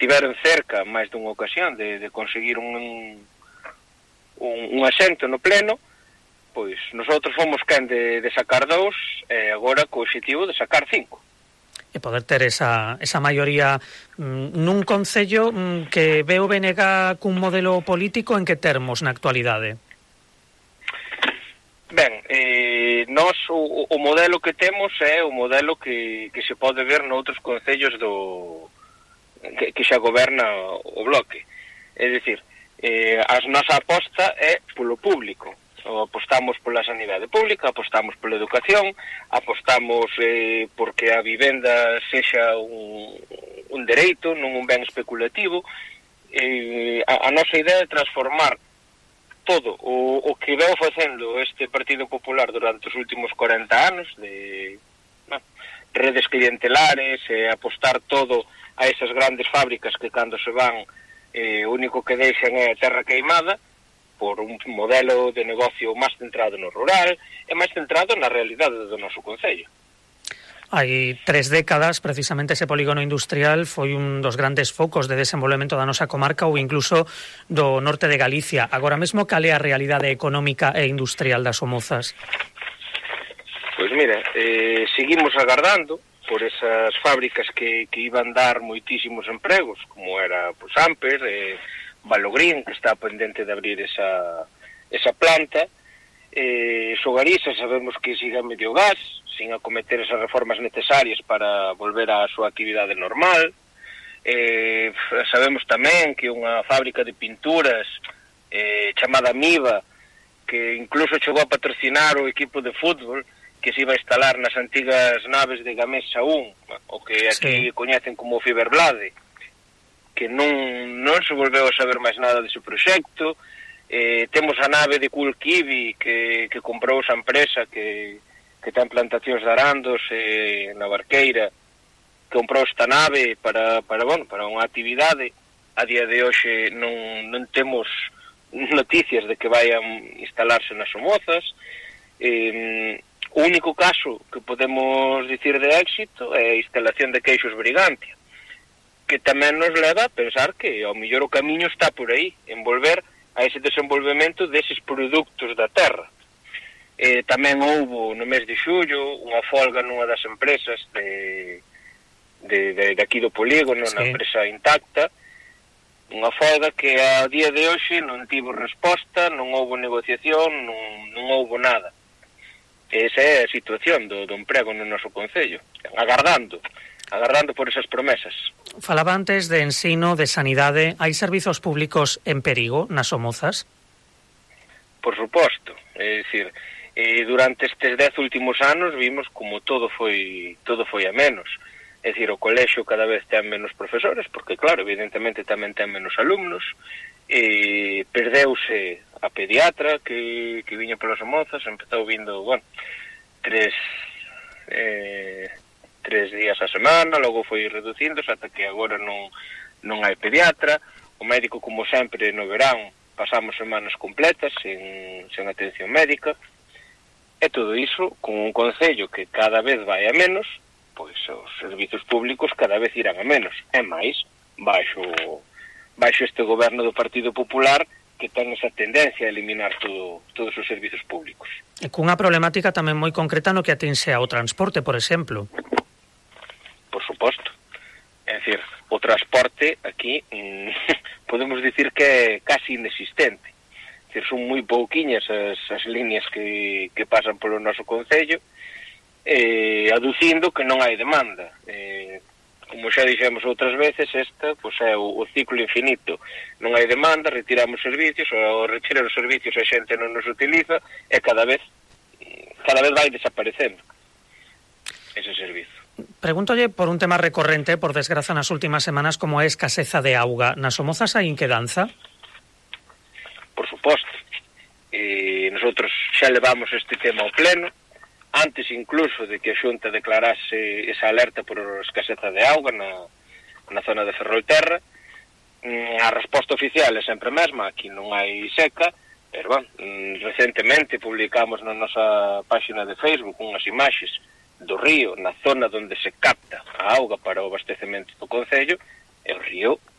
tiveron cerca máis dunha ocasión de conseguir un asento no pleno, pois nosotros fomos quen de sacar 2 e agora co obxectivo de sacar 5. E poder ter esa maioría nun concello que ve o BNG cun modelo político en que termos na actualidade? Ben, nós o modelo que temos é o modelo que se pode ver noutros concellos que xa goberna o Bloque. É dicir, a nosa aposta é polo público. Apostamos pola sanidade pública, apostamos pola educación, apostamos porque a vivenda sexa un dereito, non un ben especulativo. A nosa idea é transformar todo o que veo facendo este Partido Popular durante os últimos 40 anos de redes clientelares, apostar todo a esas grandes fábricas que cando se van o único que deixan é a terra queimada, por un modelo de negocio máis centrado no rural e máis centrado na realidade do noso concello. Hai 3 décadas, precisamente, ese polígono industrial foi un dos grandes focos de desenvolvemento da nosa comarca ou incluso do norte de Galicia. Agora mesmo, cal é a realidade económica e industrial das Somozas? Pois mira, seguimos agardando por esas fábricas que iban dar moitísimos empregos, como era pues, Amper, Valogrín, que está pendente de abrir esa planta. Sogarisa sabemos que siga medio gas, sin acometer esas reformas necesarias para volver á súa actividade normal. Sabemos tamén que unha fábrica de pinturas chamada Miva, que incluso chegou a patrocinar o equipo de fútbol que se iba a instalar nas antigas naves de Gamesa 1, o que aquí coñecen como Fiberblade, que non se volveu a saber máis nada dese proxecto. Temos a nave de Cool Kiwi que comprou esa empresa que ten plantacións de arandos na Barqueira, comprou esta nave para unha actividade. A día de hoxe non temos noticias de que vayan instalarse nas Somozas. O único caso que podemos dicir de éxito é a instalación de Queixos Brigantia, que tamén nos leva a pensar que ao mellor o camiño está por aí, en volver a ese desenvolvemento deses produtos da terra. Tamén houbo no mes de xullo unha folga nunha das empresas de aquí do polígono, na empresa Intacta, unha folga que a día de hoxe non tivo resposta, non houbo negociación, non houbo nada. Esa é a situación do emprego no noso concello, agardando por esas promesas. Falaba antes de ensino, de sanidade. Hai servizos públicos en perigo nas Somozas? Por suposto. É dicir, durante estes 10 últimos anos vimos como todo foi a menos. É dicir, o colexio cada vez ten menos profesores, porque claro, evidentemente tamén ten menos alumnos. Perdeuse a pediatra que viña polas Somozas, empezou vindo, 3 días a semana, logo foi reducíndose ata que agora non hai pediatra. O médico, como sempre, no verán pasamos semanas completas sen atención médica, e todo iso con un concello que cada vez vai a menos, pois os servizos públicos cada vez irán a menos, e máis baixo este goberno do Partido Popular, que ten esa tendencia a eliminar todos os servizos públicos. E cunha problemática tamén moi concreta no que atinxe ao transporte, por exemplo. Por suposto. É dicir, o transporte aquí podemos dicir que é casi inexistente. É dicir, son moi pouquiñas as líneas que pasan polo noso concello, aducindo que non hai demanda. Como xa dixemos outras veces, esta é o ciclo infinito. Non hai demanda, retiramos servicios, ao retirar os servicios a xente non nos utiliza, e cada vez vai desaparecendo ese servizo. Pregúntolle por un tema recorrente, por desgraza, nas últimas semanas, como é a escaseza de auga. Nas Somozas hai inquedanza? Por suposto. Nosotros xa levamos este tema ao pleno, antes incluso de que a Xunta declarase esa alerta por escaseza de auga na zona de Ferrolterra. A resposta oficial é sempre a mesma, aquí non hai seca, pero recentemente publicamos na nosa página de Facebook unhas imaxes do río na zona onde se capta a auga para o abastecemento do concello, E o río